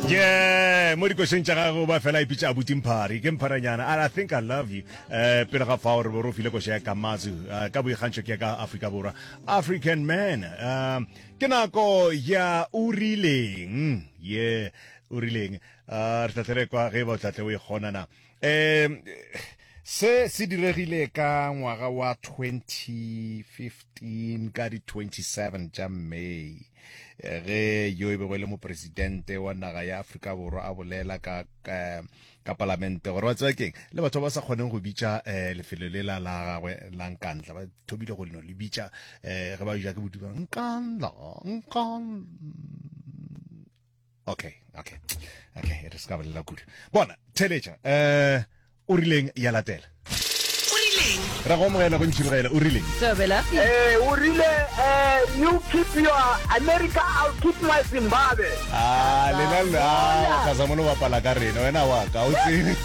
Yeah, mo dikošeng tša gagwe o ba fela a ipitša abuti Mphari, ke Mpharanyana, and I think I love you. Eh, pele ga fao re be re o file koša ya Kamazu, eh, ka boikgantšho ke ya ka Afrika Borwa. African Man. Eh, ke nako ya o rileng. Yeah, o rileng. Eh, re tla tle re kwa ge e ba o tla tle o e kgona na. Eh, se se diregile ka ngwaga wa 2015 ka di 27 tša May eh, ge yo e bego e le mopresidente wa naga ya Afrika Borwa a bolela ka ka, ka palamente gore wa tseba keng le batho ba ba sa kgoneng go bitša eh, lefelo le la la gagwe la Nkandla ba thomile go no le bitša eh, ge ba ja ke boduba Nkandla Nkandla okay okay okay re se ka bolela kudu bona theletša um o rileng ya latela O rileng? ra go amogela go ntšhirogela o rileng Thobela. Eh, o rile eh, you keep your America, I'll keep my Zimbabwe. a lena a kgasa mo lo bapala ka rena wena wa ka o tsebe.